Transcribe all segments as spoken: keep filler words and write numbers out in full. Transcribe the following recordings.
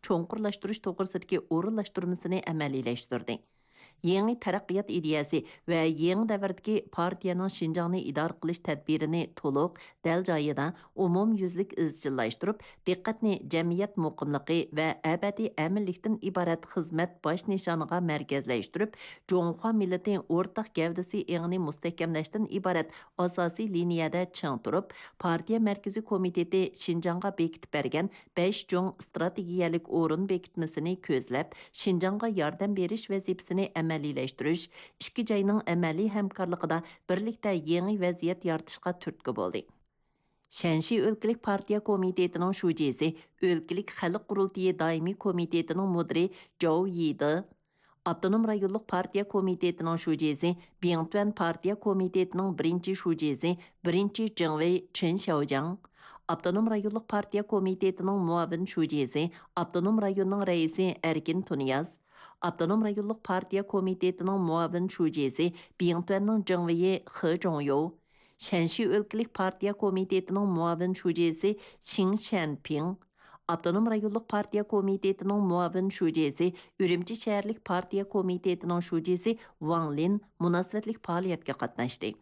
چوڭقۇرلاشتۇرۇش توغرىسىدىكى ئورۇنلاشتۇرمىسىنى ئەمەلىيلەشتۈردى. يېڭى تەرەققىيات ئىدىيەسى ۋە يېڭى دەۋردىكى پارتىيەنىڭ شىنجاڭنى ئىدارە قىلىش تەدبىرىنى تولۇق، دەل جايىدا، ئومۇميۈزلۈك ئىزچىللاشتۇرۇپ، دىققەتنى جەمئىيەت مۇقىملىقى ۋە ئەبەدىي ئەمىنلىكتىن ئىبارەت خىزمەت باش نىشانىغا مەركەزلەشتۈرۈپ، جۇڭخۇا مىللىتى ئورتاق گەۋدىسى ئېڭىنى مۇستەھكەملەشتىن ئىبارەت ئاساسىي لىنىيەدە چىڭ تۇرۇپ، پارتىيە مەركىزىي كومىتېتى شىنجاڭغا بېكىتىپ بەرگەن بەش چوڭ ئىستراتېگىيەلىك ئورۇن بېكىتمىسىنى كۆزلەپ، شىنجاڭغا ياردەم بېرىش ۋەزىپىسىنى ئەمەلىيلەشتۈرۈش، ئىككى جاينىڭ ئەمەلىي ھەمكارلىقىدا بىرلىكتە يېڭى ۋەزىيەت يارىتىشقا تۈرتكە بولدى. شەنشى ئۆلكىلىك پارتىيە كومىتېتىنىڭ شۇجىسى، ئۆلكىلىك خەلق قۇرۇلتىيى دائىمىي كومىتېتىنىڭ مۇدىرى جاۋ يىدې، ئاپتونوم رايونلۇق پارتىيە كومىتېتىنىڭ شۇجىسى، بىڭتۈەن پارتىيە كومىتېتىنىڭ بىرىنچى شۇجىسى، بىرىنچى جىڭۋېي چېن شياۋجياڭ، ئاپتونوم رايونلۇق پارتىيە كومىتېتىنىڭ مۇئاۋىن شۇجىسى، ئاپتونوم رايوننىڭ رەئىسى ئەركىن تۇنىياز، ئاپتونوم رايونلۇق پارتىيە كومىتېتىنىڭ مۇئاۋىن شۇجىسى، بىڭتۈەننىڭ جىڭۋېيى خې جۇڭيو، شەنشى ئۆلكىلىك پارتىيە كومىتېتىنىڭ مۇئاۋىن شۇجىسى شىڭ شيەنپىڭ، ئاپتونوم رايونلۇق پارتىيە كومىتېتىنىڭ مۇئاۋىن شۇجىسى، ئۈرۈمچى شەھەرلىك پارتىيە كومىتېتىنىڭ شۇجىسى ۋاڭ لىن مۇناسىۋەتلىك پائالىيەتكە قاتناشتى.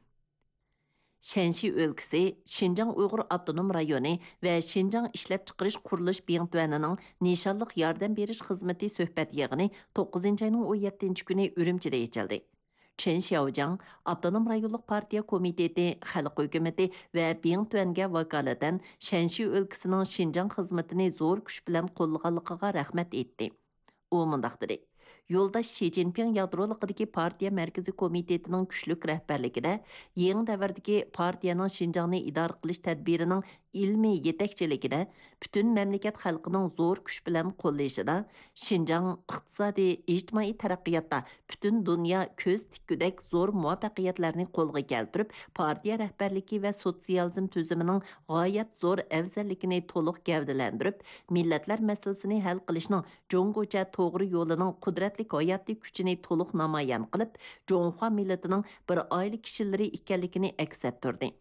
شەنشى ئۆلكىسى، شىنجاڭ ئۇيغۇر ئاپتونوم رايونى ۋە شىنجاڭ ئىشلەپچىقىرىش قۇرۇلۇش بىڭتۈەنىنىڭ نىشانلىق ياردەم بېرىش خىزمىتى سۆھبەت يىغىنى توققۇزىنچى ئاينىڭ ئون يەتتىنچى كۈنى ئۈرۈمچىدە ئېچىلدى. چېن شياۋجياڭ ئاپتونوم رايونلۇق پارتىيە كومىتېتى، خەلق ھۆكۈمىتى ۋە بىڭتۈەنگە ۋاكالىتەن شەنشى ئۆلكىسىنىڭ شىنجاڭ خىزمىتىنى زور كۈچ بىلەن قوللىغانلىقىغا رەھمەت ئېيتتى. ئۇ مۇنداق دېدى: يولداش شى جىنپىڭ يادرولۇقىدىكى پارتىيە مەركىزىي كومىتېتىنىڭ كۈچلۈك رەھبەرلىكىدە، يېڭى دەۋردىكى پارتىيەنىڭ شىنجاڭنى ئىدارە قىلىش تەدبىرىنىڭ ئىلمىي يېتەكچىلىكىدە پۈتۈن مەملىكەت خەلقىنىڭ زور كۈچ بىلەن قوللىشىدا، شىنجاڭ ئىقتىسادىي، ئىجتىمائىي تەرەققىياتتا پۈتۈن دۇنيا كۆز تىككۈدەك زور مۇۋەپپەقىيەتلەرنى قولغا كەلتۈرۈپ، پارتىيە رەھبەرلىكى ۋە سوتسىيالىزم تۈزۈمىنىڭ غايەت زور ئەۋزەللىكىنى تولۇق گەۋدىلەندۈرۈپ، مىللەتلەر مەسىلىسىنى ھەل قىلىشنىڭ جۇڭگوچە توغرا يولىنىڭ قۇدرەتلىك ھاياتىي كۈچىنى تولۇق نامايان قىلىپ، جۇڭخۇا مىللىتىنىڭ بىر ئائىلە كىشىلىرى ئىكەنلىكىنى ئەكس ئەتتۈردى.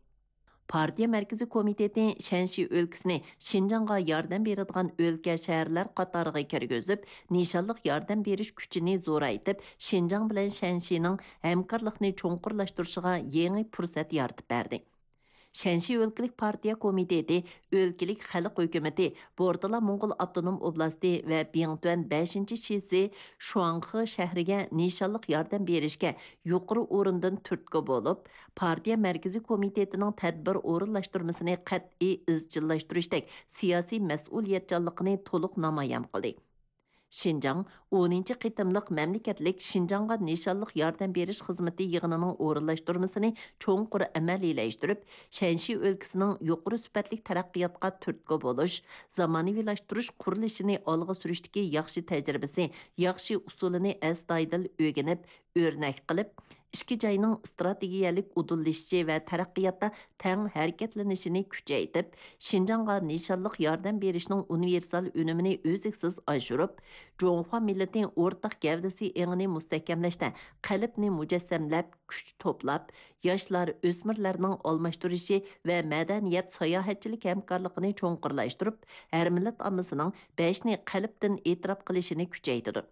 پارتىيە مەركىزىي كومىتېتى شەنشى ئۆلكىسىنى شىنجاڭغا ياردەم بېرىدىغان ئۆلكە، شەھەرلەر قاتارىغا كىرگۈزۈپ، نىشانلىق ياردەم بېرىش كۈچىنى زورايتىپ، شىنجاڭ بىلەن شەنشىنىڭ ھەمكارلىقنى چوڭقۇرلاشتۇرۇشىغا يېڭى پۇرسەت يارىتىپ بەردى. شەنشى ئۆلكىلىك پارتىيە كومىتېتى، ئۆلكىلىك خەلق ھۆكۈمىتى، بورتالا موڭغۇل ئاپتونوم ئوبلاستى ۋە بىڭتۈەن بەشىنچى شىسى شۇاڭخې شەھىرىگە نىشانلىق ياردەم بېرىشكە يۇقىرى ئورۇندىن تۈرتكە بولۇپ، پارتىيە مەركىزىي كومىتېتىنىڭ تەدبىر ئورۇنلاشتۇرمىسىنى قەتئىي ئىزچىللاشتۇرۇشتەك سىياسىي مەسئۇلىيەتچانلىقىنى تولۇق نامايان قىلدى. شىنجاڭ ئونىنچى قېتىملىق مەملىكەتلىك شىنجاڭغا نىشانلىق ياردەم بېرىش خىزمىتى يىغىنىنىڭ ئورۇنلاشتۇرمىسىنى چوڭقۇر ئەمەلىيلەشتۈرۈپ، شەنشى ئۆلكىسىنىڭ يۇقىرى سۈپەتلىك تەرەققىياتقا تۈرتكە بولۇش، زامانىۋىلاشتۇرۇش قۇرۇلۇشىنى ئالغا سۈرۈشتىكى ياخشى تەجرىبىسى، ياخشى ئۇسۇلىنى ئەستايىدىل ئۆگىنىپ، ئۆرنەك قىلىپ، ئىككى جاينىڭ ئىستراتېگىيەلىك ئۇدۇللىشىشى ۋە تەرەققىياتتا تەڭ ھەرىكەتلىنىشىنى كۈچەيتىپ، شىنجاڭغا نىشانلىق ياردەم بېرىشنىڭ ئۇنىۋېرسال ئۈنۈمىنى ئۈزلۈكسىز ئاشۇرۇپ، جۇڭخۇا مىللىتى ئورتاق گەۋدىسى ئېڭىنى مۇستەھكەملەشتە قەلبنى مۇجەسسەملەپ، كۈچ توپلاپ، ياشلار، ئۆسمۈرلەرنىڭ ئالماشتۇرۇشى ۋە مەدەنىيەت، ساياھەتچىلىك ھەمكارلىقىنى چوڭقۇرلاشتۇرۇپ، ھەر مىللەت ئاممىسىنىڭ بەشنى قەلبتىن ئېتىراپ قىلىشىنى كۈچەيتىدۇ.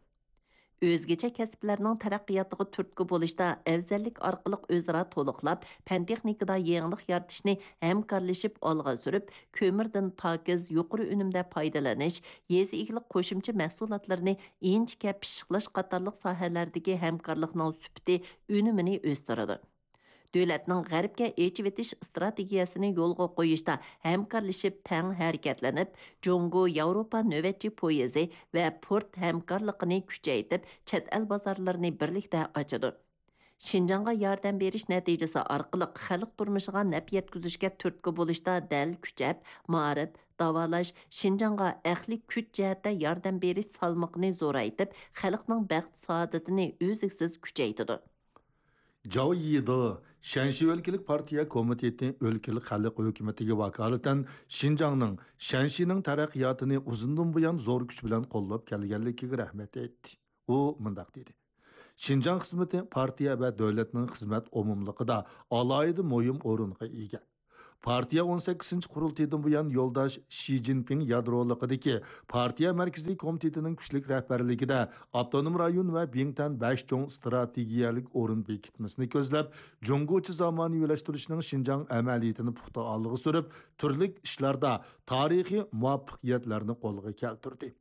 ئۆزگىچە كەسىپلەرنىڭ تەرەققىياتىغا تۈرتكە بولۇشتا ئەۋزەللىك ئارقىلىق ئۆزئارا تولۇقلاپ، پەن-تېخنىكىدا يېڭىلىق يارىتىشنى ھەمكارلىشىپ ئالغا سۈرۈپ، كۆمۈردىن پاكىز، يۇقىرى ئۈنۈمدە پايدىلىنىش، يېزا ئىگىلىك قوشۇمچە مەھسۇلاتلىرىنى ئىنچىكە پىششىقلاش قاتارلىق ساھەلەردىكى ھەمكارلىقنىڭ سۈپىتى، ئۈنۈمىنى ئۆستۈرىدۇ. دۆلەتنىڭ غەربكە ئېچىۋېتىش ئىستراتېگىيەسىنى يولغا قويۇشتا ھەمكارلىشىپ تەڭ ھەرىكەتلىنىپ، جۇڭگو ياۋروپا نۆۋەتچى پويىزى ۋە پورت ھەمكارلىقىنى كۈچەيتىپ، چەت ئەل بازارلىرىنى بىرلىكتە ئاچىدۇ. شىنجاڭغا ياردەم بېرىش نەتىجىسى ئارقىلىق خەلق تۇرمۇشىغا نەپ يەتكۈزۈشكە تۈرتكە بولۇشتا دەل كۈچەپ، مائارىپ، داۋالاش، شىنجاڭغا ئەقلىي كۈچ جەھەتتە ياردەم بېرىش سالمىقىنى زورايتىپ، خەلقنىڭ بەخت-سائادىتىنى ئۈزلۈكسىز كۈچەيتىدۇ. جاۋ يىدې شەنشى ئۆلكىلىك پارتىيە كومىتېتى ئۆلكىلىك خەلق ھۆكۈمىتىگە ۋاكالىتەن شىنجاڭنىڭ، شەنشىنىڭ تەرەققىياتىنى ئۇزۇندىن بۇيان زور كۈچ بىلەن قوللاپ كەلگەنلىكىگە رەھمەت ئېيتتى. ئۇ مۇنداق دېدى: شىنجاڭ خىزمىتى پارتىيە ۋە دۆلەتنىڭ خىزمەت ئومۇملۇقىدا ئالاھىدە مۇھىم ئورۇنغا ئىگە. پارتىيە ئون سەككىزىنچى قۇرۇلتىيىدىن بۇيان يولداش شى جىنپىڭ يادرولۇقىدىكى پارتىيە مەركىزىي كومىتېتىنىڭ كۈچلۈك رەھبەرلىكىدە ئاپتونوم رايون ۋە بىڭتۈەن بەش چوڭ ئىستراتېگىيەلىك ئورۇن بېكىتمىسىنى كۆزلەپ، جۇڭگوچە زامانىۋىلاشتۇرۇشنىڭ شىنجاڭ ئەمەلىيىتىنى پۇختا ئالغا سۈرۈپ، تۈرلۈك ئىشلاردا تارىخىي مۇۋەپپەقىيەتلەرنى قولغا كەلتۈردى.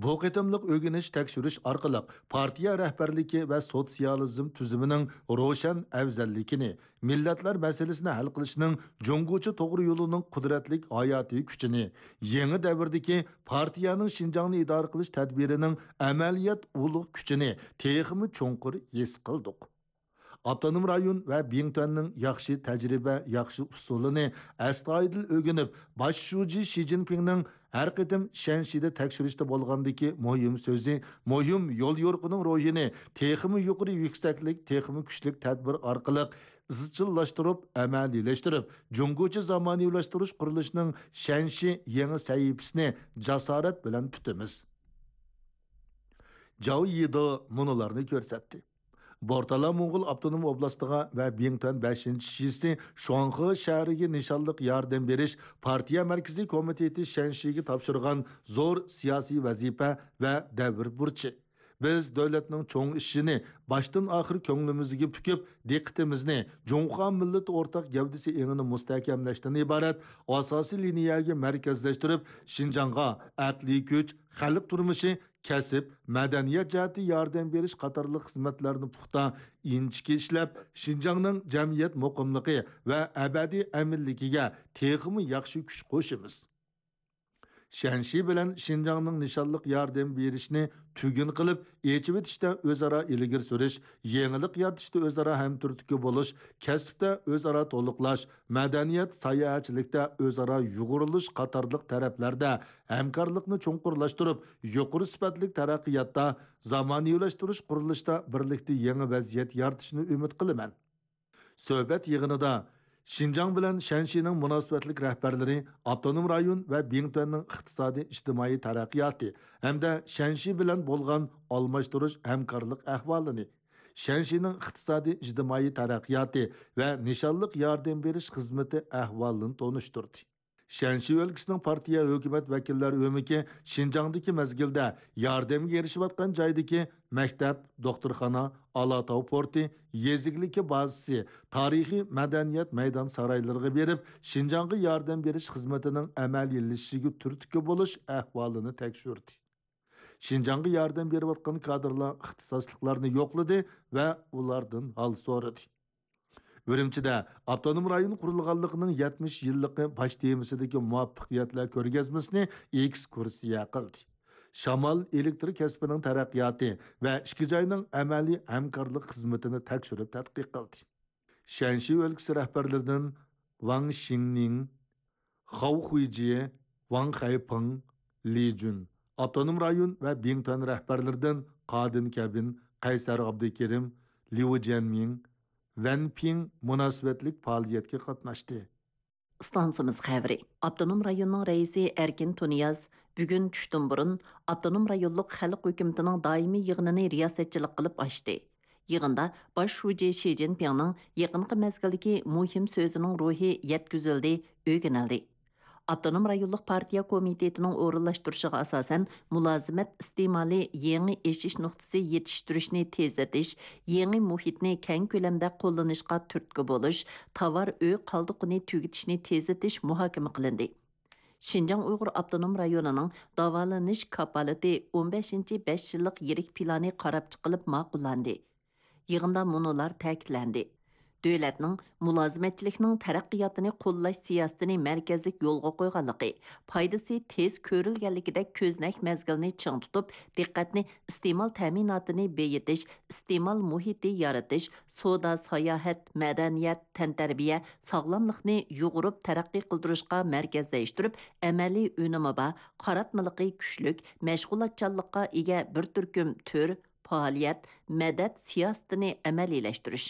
بۇ قېتىملىق ئۆگىنىش تەكشۈرۈش ئارقىلىق پارتىيە رەھبەرلىكى ۋە سوتسىيالىزم تۈزۈمىنىڭ روشەن ئەۋزەللىكىنى، مىللەتلەر مەسىلىسىنى ھەل قىلىشنىڭ جۇڭگوچە توغرا يولىنىڭ قۇدرەتلىك ھاياتىي كۈچىنى، يېڭى دەۋردىكى پارتىيەنىڭ شىنجاڭنى ئىدارە قىلىش تەدبىرىنىڭ ئەمەلىيەت ئۇلۇغ كۈچىنى تېخىمۇ چوڭقۇر ھېس قىلدۇق. ئاپتونوم رايون ۋە بىڭتۈەننىڭ ياخشى تەجرىبە، ياخشى ئۇسۇلىنى ئەستايىدىل ئۆگىنىپ، باش شۇجى شى جىنپىڭنىڭ ھەر قېتىم شەنشىدە تەكشۈرۈشتە بولغاندىكى مۇھىم سۆزى، مۇھىم يوليورۇقىنىڭ روھىنى تېخىمۇ يۇقىرى يۈكسەكلىك، تېخىمۇ كۈچلۈك تەدبىر ئارقىلىق ئىزچىللاشتۇرۇپ، ئەمەلىيلەشتۈرۈپ، جۇڭگوچە زامانىۋىلاشتۇرۇش قۇرۇلۇشىنىڭ شەنشى يېڭى سەھىپىسىنى جاسارەت بىلەن پۈتىمىز. جاۋ يىدې مۇنۇلارنى كۆرسەتتى. بورتالا موڭغۇل ئاپتونوم ئوبلاستىغا ۋە بىڭتۈەن بەشىنچى شىسى شۇاڭخې شەھىرىگە نىشانلىق ياردەم بېرىش پارتىيە مەركىزىي كومىتېتى شەنشىگە تاپشۇرغان زور سىياسىي ۋەزىپە ۋە دەۋر بۇرچى. بىز دۆلەتنىڭ چوڭ ئىشىنى باشتىن ئاخىر كۆڭلىمىزگە پۈكۈپ، دىققىتىمىزنى جۇڭخۇا مىللىتى ئورتاق گەۋدىسى ئېڭىنى مۇستەھكەملەشتىن ئىبارەت ئاساسىي لىنىيەگە مەركەزلەشتۈرۈپ، شىنجاڭغا ئەقلىي كۈچ، خەلق تۇرمۇشى، كەسىپ، مەدەنىيەت جەھەتتە ياردەم بېرىش قاتارلىق خىزمەتلەرنى پۇختا، ئىنچىكە ئىشلەپ، شىنجاڭنىڭ جەمئىيەت مۇقىملىقى ۋە ئەبەدىي ئەمىنلىكىگە تېخىمۇ ياخشى كۈچ قوشىمىز. شەنشى بىلەن شىنجاڭنىڭ نىشانلىق ياردەم بېرىشنى تۈگۈن قىلىپ، ئېچىۋېتىشتە ئۆزئارا ئىلگىرى سۈرۈش، يېڭىلىق يارىتىشتا ئۆزئارا ھەمتۈرتكە بولۇش، كەسىپتە ئۆزئارا تولۇقلاش، مەدەنىيەت، ساياھەتچىلىكتە ئۆزئارا يۇغۇرۇلۇش قاتارلىق تەرەپلەردە ھەمكارلىقنى چوڭقۇرلاشتۇرۇپ، يۇقىرى سۈپەتلىك تەرەققىياتتا، زامانىۋىلاشتۇرۇش قۇرۇلۇشتا بىرلىكتە يېڭى ۋەزىيەت يارىتىشنى ئۈمىد قىلىمەن. سۆھبەت يىغىنىدا شىنجاڭ بىلەن شەنشىنىڭ مۇناسىۋەتلىك رەھبەرلىرى ئاپتونوم رايون ۋە بىڭتۈەننىڭ ئىقتىسادىي ئىجتىمائىي تەرەققىياتى ھەمدە شەنشى بىلەن بولغان ئالماشتۇرۇش ھەمكارلىق ئەھۋالىنى، شەنشىنىڭ ئىقتىسادىي ئىجتىمائىي تەرەققىياتى ۋە نىشانلىق ياردەم بېرىش خىزمىتى ئەھۋالىنى تونۇشتۇردى. شەنشى ئۆلكىسىنىڭ پارتىيە ھۆكۈمەت ۋەكىللەر ئۆمىكى شىنجاڭدىكى مەزگىلدە ياردەمگە ئېرىشىۋاتقان جايدىكى مەكتەپ، دوختۇرخانا، ئالاتاۋ پورتى، يېزا ئىگىلىكى بازىسى، تارىخىي مەدەنىيەت مەيدان سارايلىرىغا بېرىپ، شىنجاڭغا ياردەم بېرىش خىزمىتىنىڭ ئەمەلىيلىشىشىگە تۈرتكە بولۇش ئەھۋالىنى تەكشۈردى. شىنجاڭغا ياردەم بېرىۋاتقان كادىرلار ئىختىساسلىقلارنى يوقلىدى ۋە ئۇلاردىن ھال سورىدى. ئۈرۈمچىدە ئاپتونوم رايون قۇرۇلغانلىقىنىڭ يەتمىش يىللىقى باش تېمىسىدىكى مۇۋەپپەقىيەتلەر كۆرگەزمىسىنى ئېكسكۇرسىيە قىلدى. شامال ئېلېكتر كەسپىنىڭ تەرەققىياتى ۋە ئىككى جاينىڭ ئەمەلىي ھەمكارلىق خىزمىتىنى تەكشۈرۈپ تەتقىق قىلدى. شەنشى ئۆلكىسى رەھبەرلىرىدىن ۋاڭ شىڭنىڭ، خاۋ خۇيجيې، ۋاڭ خەيپىڭ، لى جۈن، ئاپتونوم رايون ۋە بىڭتۈەن رەھبەرلىرىدىن قادىن كەبىن، قەيسەر ئابدۇكېرىم، ليۇ جيەنمىڭ، ۋەن پىڭ مۇناسىۋەتلىك پائالىيەتكە قاتناشتى. ئىستانسىمىز خەۋىرى. ئاپتونوم رايوننىڭ رەئىسى ئەركىن تۇنىياز بۈگۈن چۈشتىن بۇرۇن ئاپتونوم رايونلۇق خەلق ھۆكۈمىتىنىڭ دائىمىي يىغىنىنى رىياسەتچىلىك قىلىپ ئاچتى. يىغىندا باش شۇجى شى جىنپىڭنىڭ يېقىنقى مەزگىلدىكى مۇھىم سۆزىنىڭ روھى يەتكۈزۈلدى، ئۆگىنىلدى. ئاپتونوم رايونلۇق پارتىيە كومىتېتىنىڭ ئورۇنلاشتۇرۇشىغا ئاساسەن، مۇلازىمەت ئىستېمالى يېڭى ئېشىش نۇقتىسى يېتىشتۈرۈشنى تېزلىتىش، يېڭى مۇھىتنى كەڭ كۆلەمدە قوللىنىشقا تۈرتكە بولۇش، تاۋار ئۆي قالدۇقىنى تۈگىتىشنى تېزلىتىش مۇھاكىمە قىلىندى. شىنجاڭ ئۇيغۇر ئاپتونوم رايونىنىڭ داۋالىنىش كاپالىتى ئون بەشىنچى بەش يىللىق يىرىك پىلانى قاراپ چىقىلىپ ماقۇللاندى. يىغىندا مۇنۇلار تەكىتلەندى: دۆلەتنىڭ مۇلازىمەتچىلىكنىڭ تەرەققىياتىنى قوللاش سىياسىتىنى مەركەزلىك يولغا قويغانلىقى، پايدىسى تېز كۆرۈلگەنلىكىدەك كۆزنەك مەزگىلنى چىڭ تۇتۇپ، دىققەتنى ئىستېمال تەمىناتىنى بېيىتىش، ئىستېمال مۇھىتى يارىتىش، سودا، ساياھەت، مەدەنىيەت، تەنتەربىيە، ساغلاملىقنى يۇغۇرۇپ تەرەققىي قىلدۇرۇشقا مەركەزلەشتۈرۈپ، ئەمەلىي ئۈنۈمى بار، قاراتمىلىقى كۈچلۈك، مەشغۇلاتچانلىققا ئىگە بىر تۈركۈم تۈر، پائالىيەت، مەدەت سىياسىتىنى ئەمەلىيلەشتۈرۈش.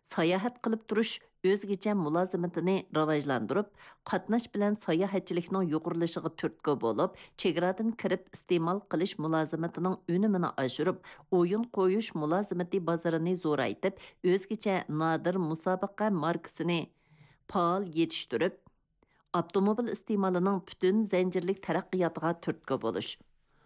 ساياھەت قىلىپ تۇرۇش ئۆزگىچە مۇلازىمىتىنى راۋاجلاندۇرۇپ، قاتناش بىلەن ساياھەتچىلىكنىڭ يۇقىرىلىشىغا تۈرتكە بولۇپ، چېگرادىن كىرىپ ئىستېمال قىلىش مۇلازىمىتىنىڭ ئۈنۈمىنى ئاشۇرۇپ، ئويۇن قويۇش مۇلازىمىتى بازىرىنى زورايتىپ، ئۆزگىچە نادىر مۇسابىقە ماركىسىنى پائال يېتىشتۈرۈپ، ئاپتوموبىل ئىستېمالىنىڭ پۈتۈن زەنجىرلىك تەرەققىياتىغا تۈرتكە بولۇش.